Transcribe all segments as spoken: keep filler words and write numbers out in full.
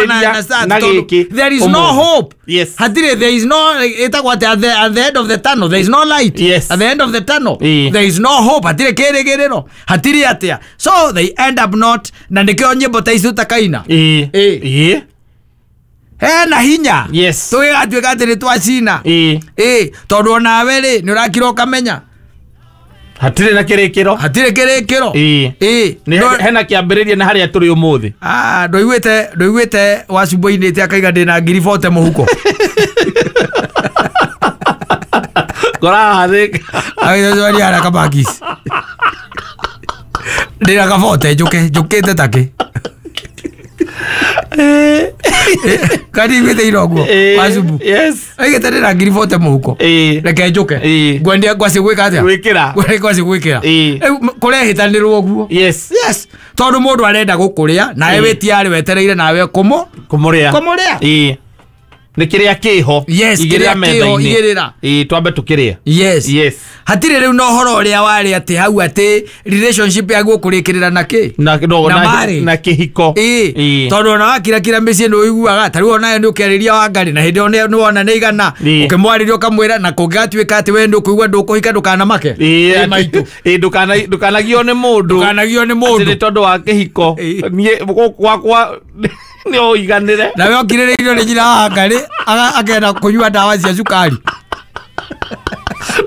na gĩkĩ. There is no hope. Yes. Hatirĩ, there is no, ĩtagwo atĩ at the, at the end of the tunnel there is no light. Yes. At the end of the tunnel Ĩĩ. there is no hope. Hatirĩ kĩrĩgĩrĩro, hatirĩ atĩa, so they end up not, na nĩkĩo nyĩmbo ta ici ũtakaina. Ĩĩ. Ĩĩ. Ĩĩ. Hena hinya. Yes. Tũgĩgatuĩka atĩ nĩ twacina. Ĩĩ. Ĩĩ, tondũ onawe rĩ nĩ ũrakira ũkamenya hatirĩ na kĩrĩkĩro. Hatirĩ kĩrĩkĩro. Ĩĩ. Ĩĩ. Nĩ No- hena kĩambĩrĩria na harĩa tũrĩ ũmũthĩ. Ah, ndũiguĩte ndũiguĩte wacumbo-inĩte akaiga ndĩna ngiri bote mũhuko. Ngorahathĩka. Agĩcoria harĩa kamakisi ndĩna kabote njũke njũkĩte takĩ kaniguĩte ira ũguo wacumbu. Yes. Aigĩte ndĩna ngiri bote mũhuko. Ĩĩ. Reke njũke. Ĩĩ. Ngwendia ngwacĩ gwĩka atĩa? Gwĩkĩra. Ngwacĩ gwĩkĩra. Ĩĩ. Rĩu kũrehĩtanĩrwo ũguo. Yes. Yes, tondũ mũndũ arenda gũkũrĩa nawe Ĩĩ. wĩtiarĩ wetereire nawe kũmũ Kũmũrĩa. Kũmũrĩa. Ĩĩ. Nĩ kĩrĩa kĩho. Yes, Igĩrĩra kĩrĩa kĩho, metha-inĩ. igĩrĩra. Ĩĩ, twambe tũkĩrĩe. Yes. Yes. Hatirĩ rĩu na ũhoro ũrĩa warĩ atĩ hau atĩ relationship yaku ũkũrĩkĩrĩra na kĩ? Na no, Na na marriage. na kĩhiko. Ĩĩ. Ĩĩ. Tondũ ona wakirakira mĩciĩ nĩ ũiguaga ta rĩu onawe nĩ ũkĩarĩria Wangarĩ na hĩndĩ ĩyo nĩ wona nĩ igana. Ĩĩ. Ũkĩmwarĩria ũkamwĩra na kũngĩgatuĩka atĩ we nĩ ũkũigua ndũkũhika ndũkanamake. Ĩĩ, Ĩĩ, maitũ. Ĩĩ, ndũkana ndũkanagio nĩ mũndũ. Ndũkanagio nĩ Atĩ mũndũ. nĩ tondũ wa kĩhiko. Ĩĩ. Niĩ gũkũ gwakwa nĩ ũiganĩre. Nawe okirĩrĩirio nĩ nyina wa Wangarĩ aga- akenda kũnyua ndawa cia cukari.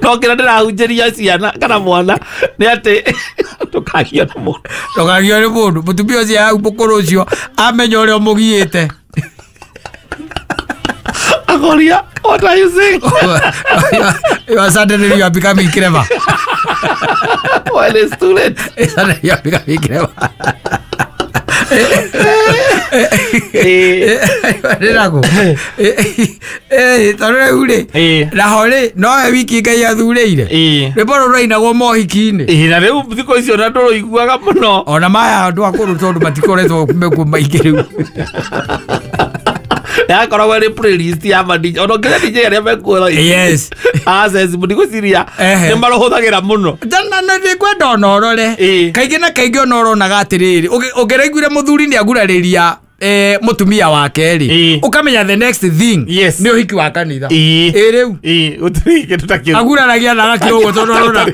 No kĩrĩa ndĩrahunjĩria ciana kana mwana nĩ atĩ ndũkagio nĩ mũndũ. Ndũkagio nĩ mũndũ. Mũtumia ũcio hau mũkũrũ ũcio amenya ũrĩa ũmũgiĩte. Akoria, what are you saying? You are suddenly you are becoming clever. Well, it's too late. Suddenly you are becoming clever. Ĩĩ. Ndĩraku. Eh, tondũ rĩu rĩ, Ĩĩ. naho rĩ, nowe wiki Ngai athurĩire. Ĩĩ. Rwĩmbo rũrũ rũrainagwo mohiki-inĩ. Ĩĩ, na rĩu thikũ icio na ndũrũiguaga mũno. Ona maya andũ akũrũ tondũ matikoretwo mekuo maingĩ rĩu. Yakoragwo ĩrĩ playlist ya ma D J. Ona nginya D J arĩa mekuo. Yes. Access ndigwĩciria Ehe. nĩ marũhũthagĩra mũno. Na na nĩngwenda ona ũrore. Ĩĩ. Kaingĩ na kaingĩ ona ũronaga atĩrĩrĩ, ũngĩ- ũngĩraiguire mũthuri nĩ agurarĩria eh, mũtumia wake rĩ, Ĩĩ. ũkamenya the next thing Yes. nĩ ũhiki wa kanitha. Ĩĩ. Ĩ rĩu. Ĩĩ, gũtirĩ kĩndũ ta kĩu. Aguraragia na agakira ũguo tondũ arona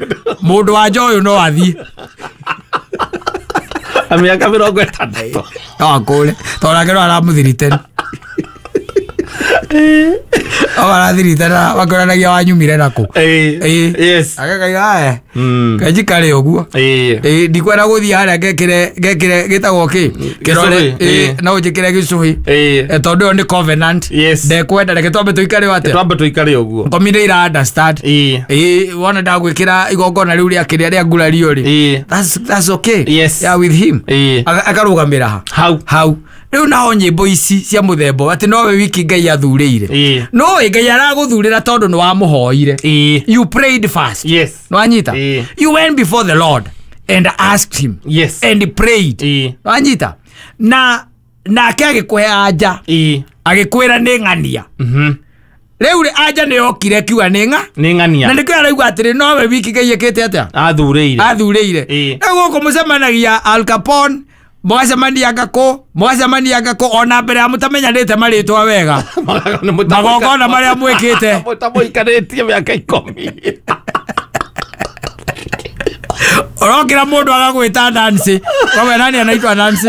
mũndũ wa nja ũyũ no athiĩ. Na mĩaka mĩrongo ĩtandatũ. No akũre tondũ nake no aramũthiritene. No arathiritana makĩonanagia wanyumire nakũ. Ĩĩ. Ĩĩ. Yes. Agakaiga aya Mm. kenjikare ũguo. Ĩĩ. Ĩĩ, ndikwenda gũthiĩ harĩa ngekĩre ngekĩre gĩtagwo kĩ kĩrore. Gĩcũhĩ, Ĩĩ, ĩĩ. no njĩkĩre gĩcũhĩ. Ĩĩ. Eh, tondũ ĩyo nĩ covenant. Yes. Ndekwenda reke twambe tũikare o atĩa. Twambe tũikare ũguo. Ngomi nĩ ira understand. Ĩĩ. Ĩĩ, wona ndagwĩkĩra igongona rĩu rĩa kĩrĩa rĩa ngurario rĩ, Ĩĩ. that's that's okay. Yes. Yeah, with him. Ĩĩ. Aga- akarũgamĩra ha Hau. hau rĩu naho nyĩmbo ici cia mũthemba atĩ nowe wiki Ngai athurĩire. Ĩĩ. Noĩ Ngai aragũthurĩra tondũ nĩ wamũhoire. Ĩĩ. You prayed first. Yes. Nwanyita. Ĩĩ. You went before the Lord and asked him Yes. and prayed. Ĩĩ. Nwanyita. Na nake agĩkũhe anja. Ĩĩ. Agĩkwĩra nĩ ng'ania. Mhm. Rĩu rĩ anja nĩ yokire kiuga nĩ ng'a. Nĩ ng'ania. Na nĩkĩo arauga atĩrĩ nowe wiki Ngai ĩkĩte atĩa? Athurĩire. Athurĩire. Ĩĩ. Rĩu gũkũ mũcemanagia Al Capone, mũgacemania ngakũ, mũgacemania ngakũ ona mbere ya mũtamenyanĩte marĩtwa wega. Magongona marĩa mwĩkĩte. Mũtamũikarĩtie mĩaka ikũmi. Ũrokĩra mũndũ agagwĩta Nancy. Wewe nani anaitwa Nancy?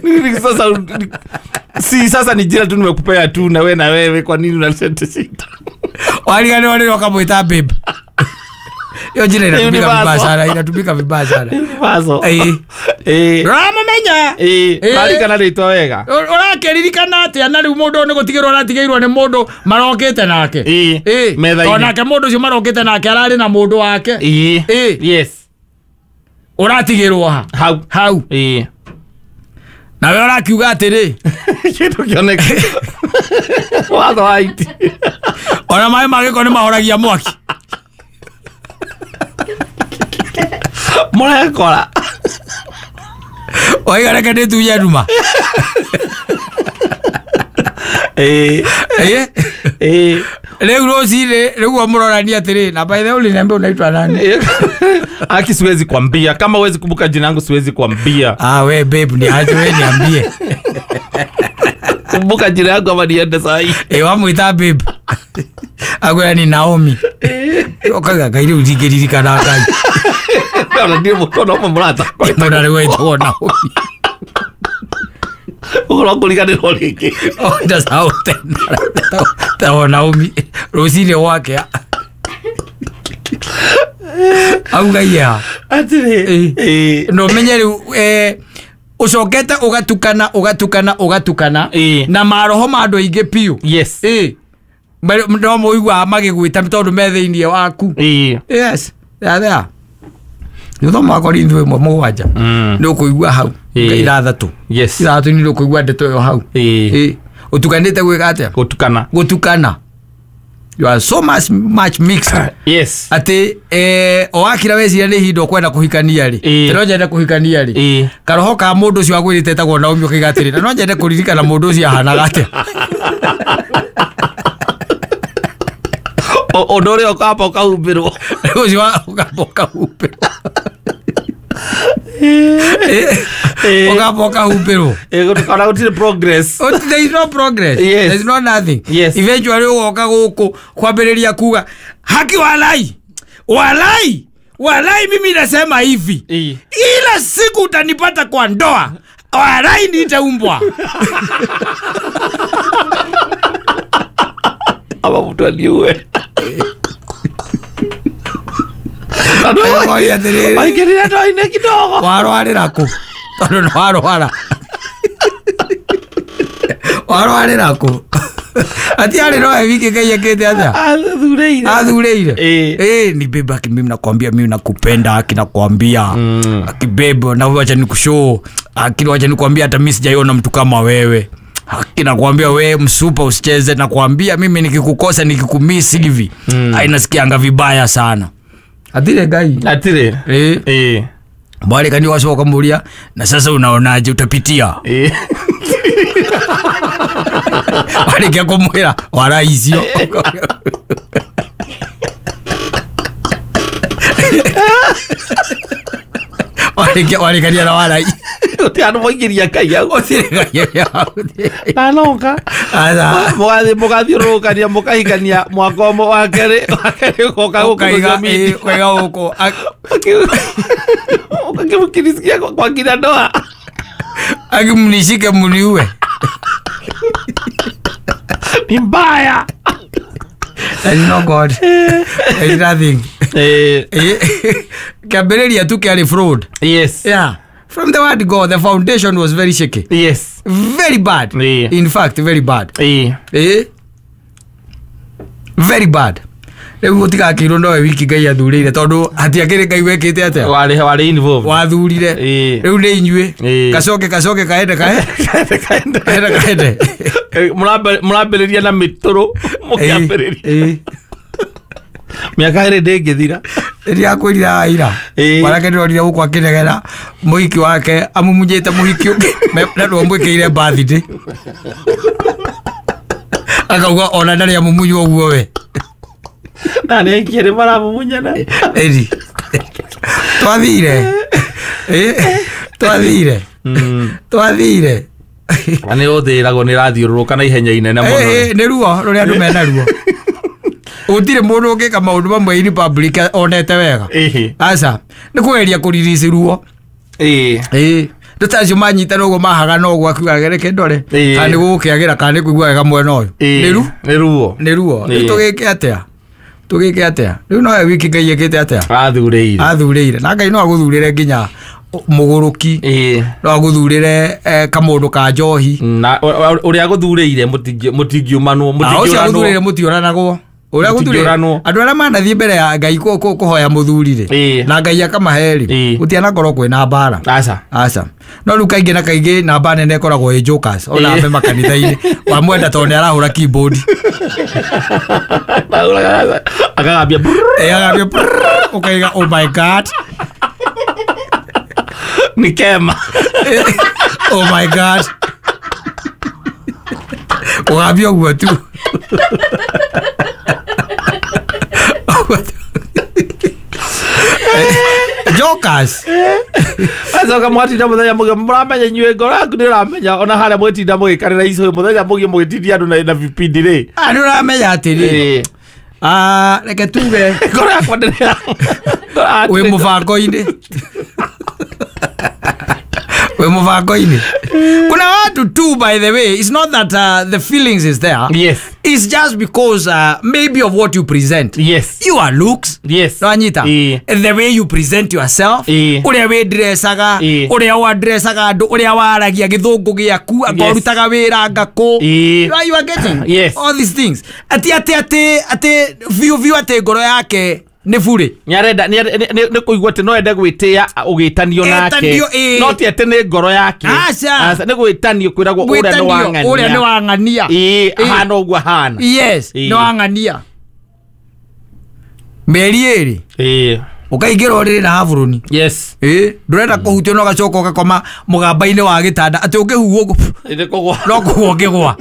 Nini sasa si sasa ni jina tu nimekupea tu na wewe na wewe kwa nini unaleta shida? Wariganĩrwo rĩrĩa ũkamwĩta babe. Hiyo jina inatumika vibaya Universal. sana, inatumika vibaya sana. Universal. Ĩĩ. Ĩĩ. Ũramũmenya? Ĩĩ. Ĩĩ. Marikana rĩtwa wega. Ũrakĩririkana atĩa na rĩu mũndũ ũyũ nĩ gũtigĩrwo aratigĩirwo nĩ mũndũ marokĩte nake. Ĩĩ. Ĩĩ. Metha-inĩ. Tondũ nake mũndũ ũcio marokĩte nake ararĩ na mũndũ wake. Ĩĩ. Ĩĩ. Yes. Ũratigĩrwo ha? Hau. Hau. Ĩĩ. Nawe ũrakiuga atĩrĩ, Kĩndũ kĩoneka. Watho wa iti. ona maĩ ma gĩko nĩ mahoragia mwaki. Mũrekora. Waiga reke ndĩtunye nduma. Ĩĩ. Ĩĩ. Ĩĩ. Rĩu rũcinĩ rĩu mũrorania atĩrĩ na by the way uliniambia unaitwa nani? Aki siwezi kuambia. Kama huwezi kumbuka jina langu siwezi kuambia. Ah we babe ni aje we niambie. Kumbuka jina yangu ama niende saa hii. Eh wamwita babe. Agwira ni Naomi. Okaga kairi uthingĩririkana Ngai. Ona ndiĩ mũkono ũmwe mũrata. Mbona rĩu wetwo Naomi. Ũhoro kũriganĩrwo rĩngĩ. Oh ndacahau tena. Ta Naomi rũcinĩ gwakĩa. Auga ya. Atĩrĩ. Eh. No menye rĩu eh ucokete ugatukana ugatukana ugatukana na maroho ma andũ aingĩ piũ. Yes. Eh. No mũiguaga magĩgwĩta tondũ me thĩinĩ waku. Eh. Yes. There there. Nĩũthoma Korintho ĩmwe mũgwanja. Nĩ ũkũigua hau. Ithathatũ. Yes. Ithathatũ nĩ ũkũigua ndeto ĩyo hau. Eh. Ũtukanĩte gwĩka atĩa? Gũtukana. Gũtukana. You are so much much mixed. Yes. Ati eh o akira weciria nĩ ihinda ũkwenda kũhikania rĩ. Eh. No nyende kũhikania rĩ. Eh. Karoho ka mũndũ ũcio agwĩrĩte etagwo Naomi ũkaiga atĩrĩ na no nyende kũririkana mũndũ ũcio ahanaga atĩa. Ũndũ ũrĩa ũkamba ũkahumbĩrwo. Ũcio ũkamba ũkahumbĩrwo. Ũkamba ũkahumbĩrwo. Ona gũtirĩ progress. There is no progress. Yes. There is no nothing. Yes. Eventually ũgoka gũkũ kwambĩrĩria kuga haki walai. Walai. Walai mimi nasema hivi. Ila siku utanipata kwa ndoa. Walai nitaumbwa. Ama mtu aliue. Maingĩrire ndoa-inĩ kidogo. Warwarĩra kũ? Tondũ nĩ warwara. Warwarĩra kũ? Ati arĩ no wiki Ngai ekĩte atĩa? Athurĩire. Athurĩire. Eh. Eh ni bebe aki mimi nakwambia mimi nakupenda aki nakwambia. Aki bebe na wacha nikushow. Aki wacha nikwambia hata mimi sijaiona mtu kama wewe. Haki nakwambia we msupa usicheze nakwambia mimi nikikukosa nikikumiss hivi. Mm. Ainasikianga vibaya sana. Atire Ngai. Atire. Eh. Eh. Bali kani wasoka muria na sasa unaonaje utapitia? Eh. Bali kia kumwira wara icio. Wale kia wale kani na wara. Uti andu moingĩria Ngai hau. Gũtirĩ Ngai hau. Ndanoka. Aca. Mũgathiĩ mũgathiũrũrũkania mũkahikania mwaka ũmwe wa kerĩ wa kerĩ ũgoka gũkũ Ũkaiga social media. ĩ ũkaiga gũkũ. Ukimsikia kwa kina ndoa. Akimnishike mniue. Ni mbaya. There is no God. There is nothing. Eh. Kĩambĩrĩria tu kĩarĩ fraud. Yes. Yeah. From the word go, the foundation was very shaky. Yes. Very bad. Yeah. In fact, very bad. Eh. Eh? Very bad. Rĩu gũtigakĩirwo nowe wiki Ngai athurĩire tondũ hatiakĩrĩ Ngai wekĩte atĩa? Warĩ warĩ involved. Wathurire. Eh. Rĩu nĩ inyuĩ. Eh. Kacoke kacoke kaende kae. Kaende kaende kaende. Mũrambĩrĩria na mĩtũrũ mũkĩambĩrĩria. Eh. Mĩaka ĩrĩ ndĩngĩthira. Rĩrĩa akwĩrire ira. Mwanake ndĩronire gũkũ akĩnegena mũhiki wake amumunyĩte mũhiki ũngĩ na ndwamwĩkĩire birthday. Akauga ona ndarĩ amumunywo ũguo we. Na nĩ aingĩ nĩ maramumunyana. Ĩri. Twathire. Eh. Twathire. Twathire. Na nĩ ũthĩragwo nĩ ĩrathiũrũrũka na ihenya inene mũno. Eh nĩ ruo rũrĩa andũ mena ruo. Gũtirĩ mũndũ ũngĩka maũndũ mamwe in public onete wega. Aca nĩ kũgeria kũrelease ruo. Ĩĩ. Ĩĩ. Ndũ acio manyitana ũguo mahagana ũguo akiuga reke ndore kana nĩ gũgũkĩagĩra kana nĩ kũigua wega mwena ũyũ. Nĩ ru? Nĩ ruo. Nĩ ruo. Rĩu tũgĩke atĩa? Tũgĩke atĩa? Rĩu nowe wiki Ngai ekĩte atĩa? Athurĩire. Athurĩire. Na Ngai no agũthurĩre nginya mũgũrũki. Ĩĩ. No agũthurĩre kamũndũ ka njohi. Na ũrĩa agũthurĩire mũtingiumanwo mũtingĩũranwo. Ũcio agũthurĩire mũtiũranagwo. Ũrĩa agũthurĩire andũ arĩa manathiĩ mbere ya Ngai kũhoya mũthuri rĩ na Ngai akamahe rĩ gũtianakorwo kwĩna mbara. Aca. Aca. No rĩu kaingĩ na kaingĩ namba nene ĩkoragwo ĩ jokers ona ambe makanitha-inĩ wamwenda tondũ nĩ arahũra keyboard. Akagambia Eh akagambia ũkaiga oh my God. Ni kema. Oh my God. Ũgambia ũguo tu. Focus. Acoka mwatinda mũthenya mũgima mũramenya inyuĩ ngoro yaku nĩ ũramenya ona harĩa mwĩtinda mũgĩkarĩra icũhĩ mũthenya mũgima mũgĩtindia andũ na- na vipindi rĩ. Ah, nĩ ũramenya atĩrĩ. Ĩĩ. Ah, reke tuge Ngoro yakwa ndĩrĩ wĩ mũbango-inĩ. Wĩ mũbango-inĩ. Kuna watu tu, by the way, it's not that uh, the feelings is there. Yes. It's just because uh, maybe of what you present. Yes. Your looks. Yes. Nwanyita. Ĩĩ. The way you present yourself. Ĩĩ. Ũrĩa wĩndressaga. Ĩĩ. Ũrĩa wandressaga andũ. Ũrĩa waragia gĩthũngũ gĩaku. Anga Yes. ũrutaga wĩra anga kũ. Ĩĩ. You are, you are getting Yes. all these things. Ati ati ati ati biũ biũ atĩ ngoro yake nĩ burĩ. Nĩarenda nĩ kũigua atĩ no ende gwĩtĩa ũgĩtanio nake Ĩtanio, ĩĩ. no ti atĩ nĩ ngoro yake. Aca. Aca, nĩ gwĩtanio kwĩragwo ũrĩa nĩ Gwĩtanio, wang'ania. ũrĩa nĩ wang'ania. Ĩĩ, Ĩĩ. ahana ũguo ahana. Yes, Ĩĩ. nĩ wang'ania. Mĩeri ĩrĩ Ĩĩ. ũkaingĩra ũrĩrĩ na haburũni. Yes. Ĩĩ, ndũrenda kũhutio no ũgacoka ũgakoma mũgamba-inĩ wa gĩtanda atĩ ũngĩhuhwo ũguo, Nĩ kũgwa. no kũgwa ũngĩgwa.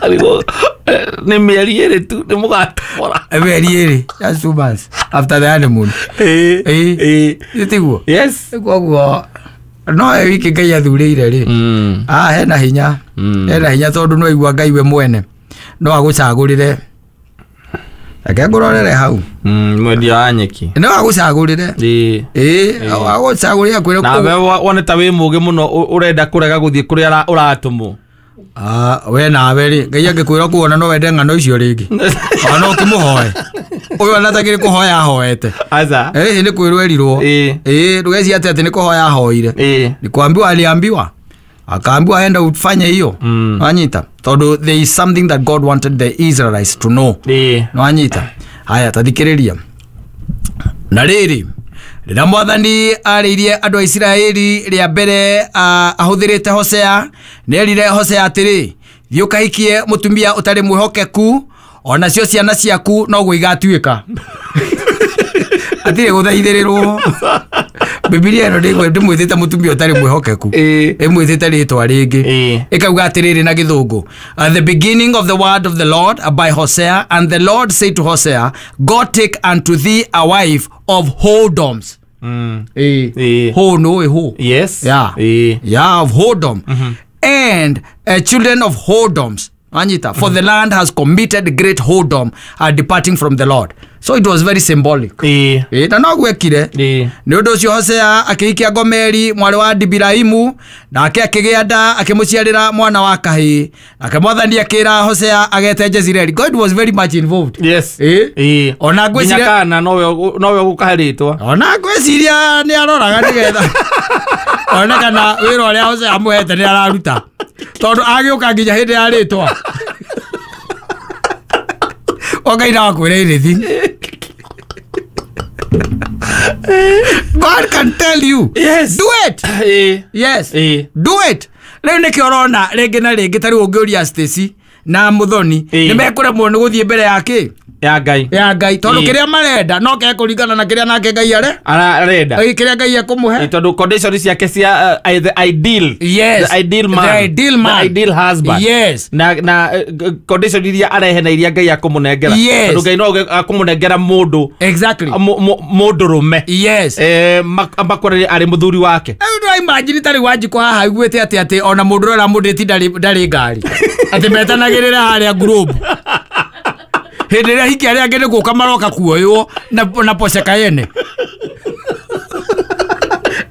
Arigwo, eh, nĩ mĩeri ĩrĩ tu nĩ mũgatobora. Mĩeri ĩrĩ, just two months after the honeymoon. Ĩĩ. Ĩĩ. Ĩĩ. Ĩ tiguo? Yes. Koguo no we wiki Ngai athurĩire rĩ. Mm. Ah, hena hinya. Mm. Hena hinya tondũ no aigua Ngai we mwene no agũcagũrĩre. Reke ngũrorere hau. Mm, mwendia wa nyeki. No agũcagũrĩre. Ĩĩ. Ĩĩ, agũcagũrĩre akwĩre Na we wa- wone ta wĩ mũgĩ mũno ũ- ũrenda kũrega gũthiĩ kũrĩa ũra- ũratũmwo. Ah, we nawe rĩ, Ngai angĩkwĩra kuona no wende ng'ano icio rĩngĩ. Ona no ũkĩmũhoe. Ũyũ ona atakĩrĩ kũhoya ahoete. Aca. Ĩĩ, nĩ kwĩrwo erirwo. Ĩĩ. Ĩĩ, ndũgecirie atĩ atĩ nĩ kũhoya ahoire. Ĩĩ. Ni kuambiwa aliambiwa. Akaambiwa enda ufanye hiyo. Mm. Wanyita. Tondũ there is something that God wanted the Israelites to know. Ĩĩ. Nwanyita. Haya, tathikĩrĩria. Na rĩrĩ, rĩrĩa mwathani arĩirie andũ a Isiraeli rĩa mbere ah, ahũthĩrĩte Hosea, nĩerire Hosea atĩrĩ, thiĩ ũkahikie mũtumia ũtarĩ mwĩhokeku, onacio ciana ciaku noguo igatuĩka. Atirĩ gũthaithĩrĩrwo. Bibilia ĩno ndĩgwe- ndĩmwĩtĩte mũtumia ũtarĩ mwĩhokeku. Ĩĩ. Ĩmwĩtĩte rĩtwa rĩngĩ. Ĩĩ. Ĩkauga atĩrĩrĩ na gĩthũngũ. Uh, the beginning of the word of the Lord uh, by Hosea, and the Lord said to Hosea, go take unto thee a wife of whoredoms. Mm. Ĩĩ. Ĩĩ. Ho no ĩ ho. Yes. Yeah. Ĩĩ. Yeah, of whoredom. And uh, children of whoredoms. Anyita, for the land has committed great whoredom, uh, departing from the Lord. So it was very symbolic. Ĩĩ. Ĩĩ, na no gwekire. Ĩĩ. Nĩ ũndũ ũcio Hosea akĩhikia Gomeri mwarĩ wa Dibiraimu, nake akĩgĩa nda akĩmũciarĩra mwana wa kahĩĩ. Nake mwathani akĩra Hosea agete Jezreeli. God was very much involved. Yes. Ĩĩ. Ĩĩ. Ona Nginya ngwĩciria kana nowe ũgũ- nowe ũgũkahe rĩtwa. ona ngwĩciria nĩ aroraga nĩgetha one kana wĩra ũrĩa Hosea amũhete nĩ araruta, tondũ agĩũka nginya hĩndĩ ya rĩtwa o Ngai no akwĩre anything. God can tell you. Yes. Do it. Ĩĩ. Yes. Ĩĩ. Do it. Rĩu nĩkĩo ũrona rĩngĩ na rĩngĩ ta rĩu ũngĩũria Stacy na Muthoni Ĩĩ. nĩ mekũremwo nĩ gũthiĩ mbere ya kĩ Ya Ngai. ya Ngai tondũ Ĩĩ. kĩrĩa marenda no kekũringana na kĩrĩa nake Ngai are Ara- Arenda. Ĩĩ, kĩrĩa Ngai ekũmũhe. Ĩĩ, tondũ condition ciake cia uh, the ideal. Yes. The ideal man. The ideal man. The ideal husband. Yes. Na na eh, g- condition iria arehe na iria Ngai akũmũnengera. Yes. Tondũ Ngai no auge akũmũnengera mũndũ Exactly. mu- mu- mũndũ rũme. Yes. Eh, mak- amakorere arĩ mũthuri wake. Rĩu ndũra imagine tarĩ Wanjikũ haha aiguĩte atĩ atĩ ona mũndũ ũrĩa ũramũndĩti ndarĩ ndarĩ ngari atĩ metanagĩrĩra harĩa Globe hĩndĩ ĩrĩa hiki arĩa angĩ nĩ gũka maroka kuoywo na, na Porsche Cayenne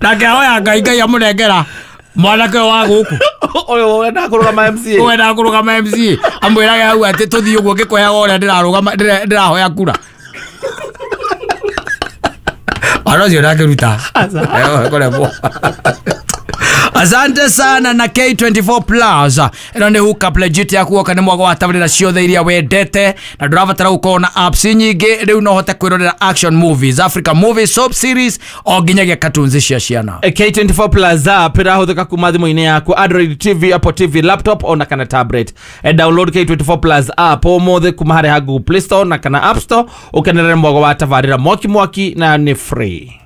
nake ahoya Ngai Ngai amũnengera mwanake ũyũ wa gũkũ Ũyũ wendaga kũrũgama M C A. wendaga kũrũgama M C A amwĩrage hau atĩ tũthiĩ ũguo ngĩkũheaga ũrĩa ndĩrarũgama ndĩra- ndĩrahoya kura ona ũcio ndangĩruta. Eh, kũremwo. Asante sana na K twenty-four Plus. Ĩno nĩ hookup legit yaku woka nĩ mwago wa tabarĩra ciothe iria wendete na ndũrabatara gũkorwo na apps nyingĩ. Rĩu no ũhote kwĩrorera action movies, Africa movies, soap series o nginyagia cartoons cia ciana. K twenty-four Plus app ĩrahũthĩka kuma thimũ-inĩ yaku, Android T V, Apple T V, laptop ona kana tablet. E download K twenty-four Plus app ũmũthĩ kuma harĩa ha Google Play Store na kana App Store ũkenerere mwago wa tabarĩra mwaki mwaki na nĩ free.